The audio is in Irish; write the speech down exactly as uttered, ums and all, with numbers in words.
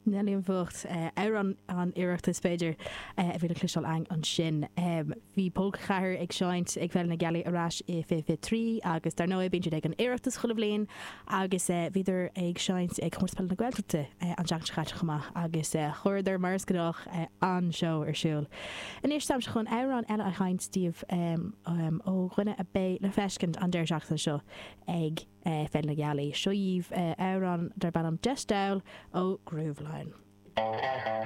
Nelly an Bhocht amhrán an Oireachtais b'fhéidir a bhí le cloisteáil againn ansin. Bhí Pólca Ceathair ag seinnt ag Féile na Gealaí ar ais i fiche fiche trí agus dar ndóigh bíonn siad ag an Oireachtas chuile bhliain agus bhíodar ag seinnt ag Comórtas Peile na Gaeltachta an tseachtain seo caite chomh maith agus chuireadar mar is gnách an-seó ar siúl. Anois táimse chun amhrán eile a sheinnt daoibh ó dhuine a bheidh le feiscint an deireadh seachtaine seo ag Féile na Gealaí. Seo dhaoibh amhrán darb ainm Deis Dall ó Grooveline.